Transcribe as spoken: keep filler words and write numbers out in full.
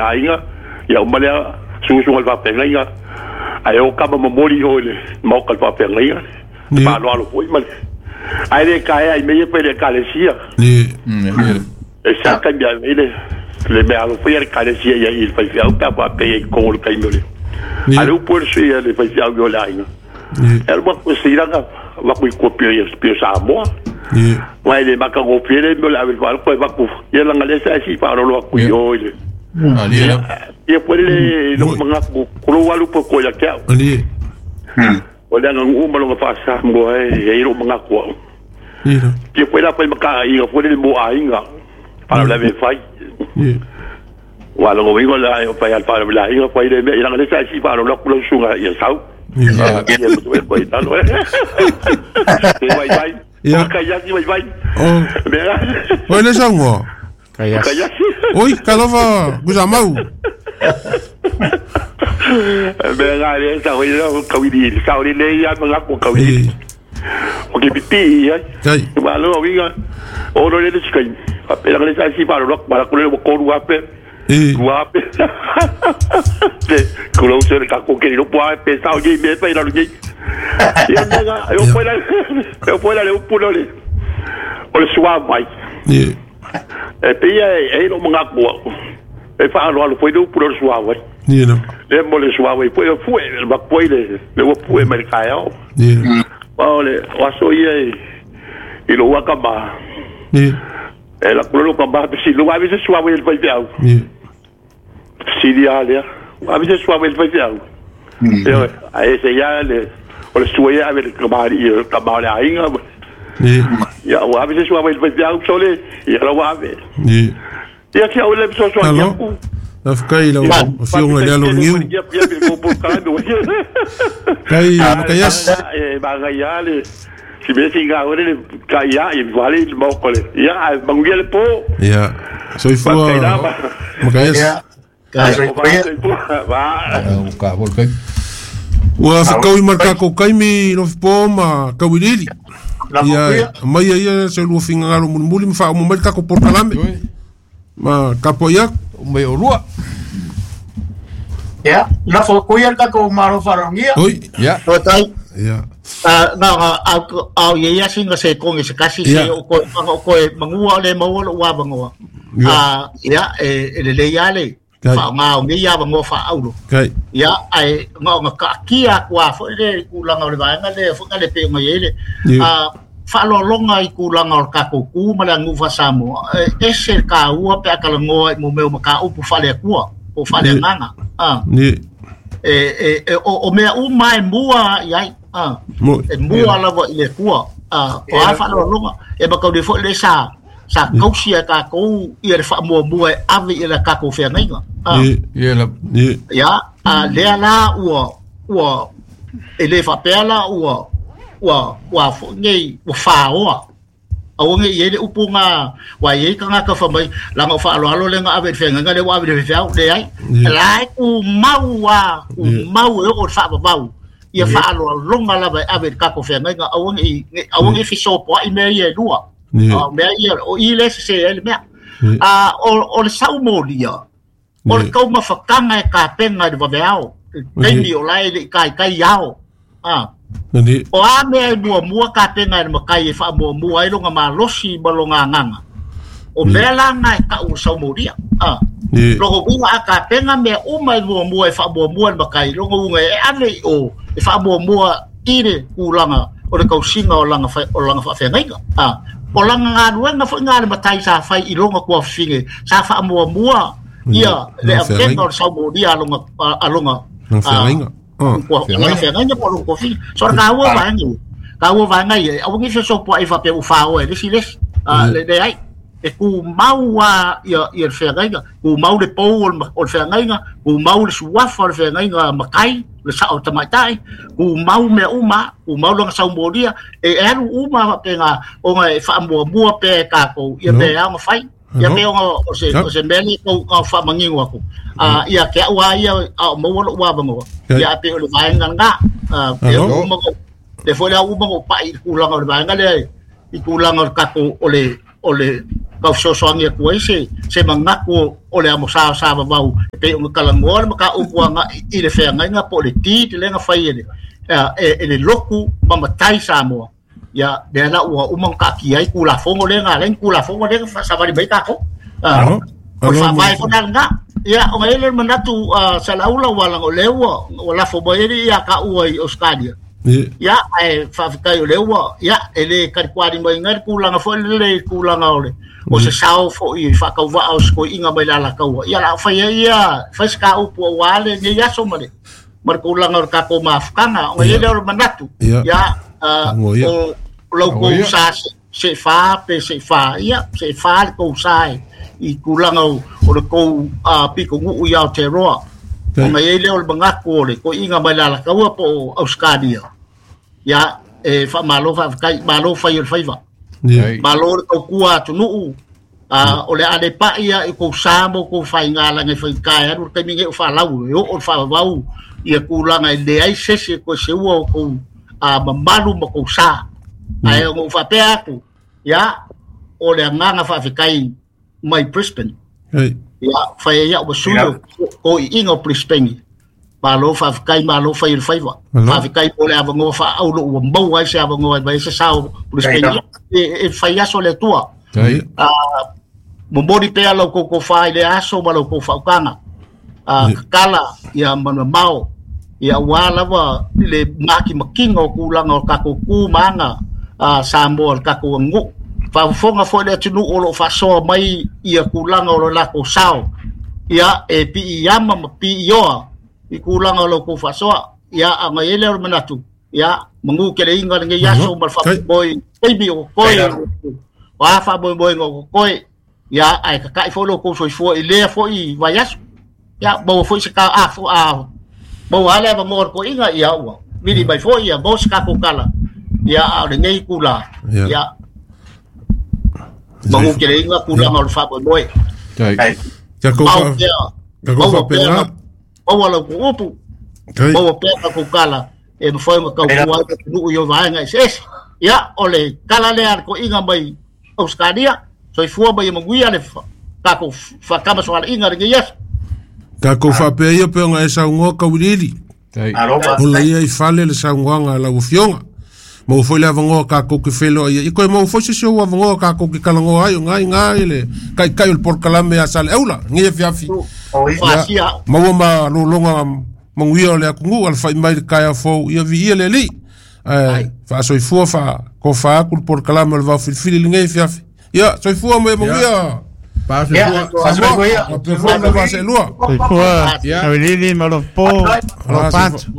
aiga ia uma lea susuga le faafeagaiga ae o kama momoli o i le maoka le faafeagaiga faaaloalo foi ma le ae le kaea i mea ia pe le ekalesia e sa taimi ai le le mea alo foi a le ekalesia ia i le faifeau pe a faapea i totonu o le taimi o le a le upu e le sui a le faifeau i o le aiga e alu atu e seilaga avatu i tua pio Samoa ma e le matagofie le mea o le ave i le faaloko e avatu ia laga lea sa e sii faaaloalo atu i o i le ia foi le lou manatu kulou alu po ko ia te au o le aganuu ma lona faasamoa e ai lou manatu au ia foi la fai makaaiga foi le mo aiga faalavelave e fai ua logo ingo la e fai al faalavelave aiga fai le mea i laga lea sa e sii faaaloalo atu lau susuga ia sau ia ko i talo e vai vai Ia. Kaiasi vai vai. Oh. Oi le saunoa. Kaiasi. Oi, talofa Kusamau. Mea ngā le sa hoi la kawiri, sa hoi le ia manga ko kawiri. O ke pipi ai. Kai. Ma lo winga. O lo le skai. Pa pela le sa si pa lo pa ko le ko ru ape. Ru ape. Te ko lo se ka ko ke lo pa pe sa hoi me pa ila lo ni. Ia mega, eu foi lá, eu foi lá le upu le. O le sua mai. Ie. E pia e lo manga ko. E fa alo alo foi le upu le sua mai. Ie no. Le mo le sua mai foi fu e ma foi le le o fu e mai ka ao. Ie. O le o aso ia i lo waka ma. Ie. E la kulo ka ba si lo ave se sua mai le foi au. Ie. Si dia le. Ave se sua mai le foi au. Ie. Ai se ia le o le sua ia ave le kamari kamari ainga. Ie. Ia o ave se sua mai le foi au sole. Ia la ave. Ie. Ia ki au le so so Alo. La fkai la o fionga le alo ngiu. Kai makayas. E bagaya le si me singa ore le kaya e vale le mokole. Ia banguia le po. Ia. Soifua makayas. Ia. Kai va. Ka volkai. Ua whakau i marka ko kaimi no whipo ma kauiriri. Ia mai ia se lua fingalo mulimuli ma wha umumai kako porkalame. Ma kapo ia me orua. Ia, na whakuia ka ko maro wharongia. Oi. Ia. Tai. Ia. Ah, na au au ia singa se kongi se kasi se o ko o ko mangua le maua lo wa bangoa. Ah, ia e le le ia le. Fa nga o ia bangoa fa aulo. Kai. Ia ai nga nga ka kia kwa fo le kulanga le vaenga le fo le pe ngai le. Ah, whaalolonga i kūlanga o ka koukou ma le agufa Samoa e ese ka ua pe akalangoa i mo mea o makaupu faaleakua po faaleagaga a e e o o mea uma e mua i ai a e mua lava i le kua a o a whaalolonga e makauli foi le sa sa kausi e kākou ia le whaamuamua e ave i le kākou wheangaiga a ia a lea la ua ua e le whapea la ua ua ua nei ua whaoa au ngi ye le upunga wa ye ka ngaka fa mai la ngo fa alo alo le nga ave fe nga le wa ave le fe au le ai la ku mau wa ku mau e o fa ba ia fa alo longa la ba ave ka ko fe nga au ngi au ngi fi so po i me ye lua o me ye o i le se le me a o o le sau molia o le kau mafakanga e ka penga de vaveao teimi o lai le kai kai ao a o a mea e muamua ka penga e makai e whaamuamua e longa malosi ma longa nganga. O mea la ngai ka u saumoria. Ah. Logo unga a ka penga mea uma e muamua e whaamuamua e makai. Logo unga e ave i o e whaamuamua i le kulanga o le kausinga o langa o langa whaawhengainga. Ah. O langa ngā nuenga fo ngā le matai sa whai i longa kua whinge. Sa whaamuamua ia le avenga o le saumoria a longa a longa. Whaawhengainga. Ko nga whenga po lo kofi so ka ua vaenga ka ua vaenga ia au ngi so po ai fa pe u fa o le si le le le ai e ku mau a ia ia whenga ku mau le po o le whenga ku mau le suafa o le whenga makai le sa o tamaitai ku mau me uma ku mau longa saumoria e alu uma pe nga o nga e whaamuamua pe ka ko ia pe au fai ia pe o se o se mele ko ka fa mangingo aku a ia ke ua ia a mo lo ua bango ia pe o le vaenga nga e o mo le fo le u mo pa i kulanga o le vaenga le i kulanga o ka ko o le o le kausosoangi atu ai se se manatu o le amosa sa vavau e pei ona talanoa le mataupu agai i le feagaiga po o le deed lea na fai e le e le loku ma matai Samoa. Ia lea la ua uma ona taatia ai Tulafono lea na alai ni Tulafono lea na savali mai tatou. O le faavae foi la lena. Ia ona i ai lea o le manatu Salaula ua laga o lea ua ua lafo mai ai ia taua i Australia. Ia ae faafetai o lea ua ia e le talitualima ina le tulaga foi lele i tulaga o le o se sao foi i faatauvaa o se toeaiga mai le Alataua. Ia la fai ai ia fai se kaupu aua lenei aso ma le ma le tulaga o le tatou mafutaga. Ona i ai lea o le manatu ia o lau kou sa se fa pe se fa ia se fa le kou sa i tulaga o le kou piko nuu i Aotearoa. Ona i ai lea o le manatu o le toeaiga mai le Alataua po o Australia. Ia e faamalo faafetai, malo fai o le faiva. Malo le taukua atunuu o le a le pai ia i kou sa ma kou faigalaga e faigata e alu le taimi nei o faalau e oo le faavavau ia tulaga e leai se isi e toe seua o kou mamalu ma kou sa. Ae ona ou faapea atu, ia o le agaga faafetai mai Brisbane. Ia fai ai au ma sui o toeaiga o Brisbane. Malo faafetai, malo fai o le faiva. Faafetai mo le avanoa faaaulo ua maua ai se avanoa e mai ai se sao Brisbane. E fai aso le Atua. Momoli pea lau kou tofa i le aso ma lau kou faautaga. Tatala ia manumamao ia aua lava le makimakiga o tulaga o le tatou tu ma aga Samoa o le tatou aganuu. Faafofoga foi le atunuu o loo faasoa mai ia tulaga o le latou sao. Ia e piiama ma piioa i tulaga o lau kou faasoa. Ia ona i ai lea o le manatu ia manu keleiga lenei aso ma le faamoemoe taimi o totoe o a faamoemoega o totoe. Ia ae tatai foi lo kou soifua i lea foi vaiaso. Ia maua foi se ka a a maua ale avanoa o le toeaiga ia ua vili mai foi ia maua se tatou tala. Ia a o lenei itula ia manu keleiga tulaga o le faamoemoe. Mau pea maua pea maua lau kou upu maua pea tatou tala e mafai ona taukua ai le atunuu i vaega eseese. Ia o le tala lea a le toeaiga mai Australia. Soifua mai e manuia le tatou faatamasoalaiga lenei aso. Tatou faapea ia pe ona e saunoa kauiliili. Ola ia i fale le saunoaga a lau afioga. Maua foi le avanoa tatou ke feiloai ai. Ia koe maua foi se isi ou avanoa tatou ke talanoa ai o ngā i ngā i le taitai o le polokalame a Saleaula lenei afiafi. Ia maua ma lologa manuia o le atunuu alafai mai le taeao fou ia viia le Alii. Ae faasoifua faatofa atu le polokalame o le vaofilifili lenei afiafi. Ia soifua ma ia manuia. Samoa faapea foi le vaa seelua. Soifua Kauiliili ma lou po, lou pantu.